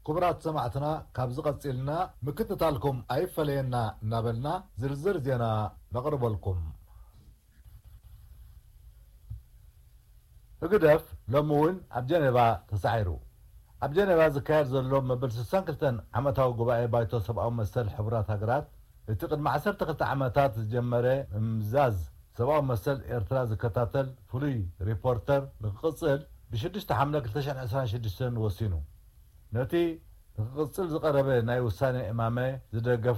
ክቡራት ሰማዕትና፣ ካብዚ ቀጺልና ምክትታልኩም ኣይፈለየና እናበልና ዝርዝር ዜና ነቕርበልኩም። ህግደፍ ሎሚ እውን ኣብ ጀኔቫ ተሳዒሩ። ኣብ ጀኔቫ ዝካየድ ዘሎ መበል ስሳን ክልተን ዓመታዊ ጉባኤ ባይቶ ሰብኣዊ መሰል ሕቡራት ሃገራት፣ እቲ ቅድሚ ዓሰርተ ክልተ ዓመታት ዝጀመረ ምምዛዝ ሰብኣዊ መሰል ኤርትራ ዝከታተል ፍሉይ ሪፖርተር ንክቕጽል፣ ብ ሽዱሽተ ሓምለ ክልተ ሽሕን ዕስራን ሽዱሽተን ወሲኑ። ነቲ ንክቕጽል ዝቐረበ ናይ ውሳኔ እማመ ዝደገፍ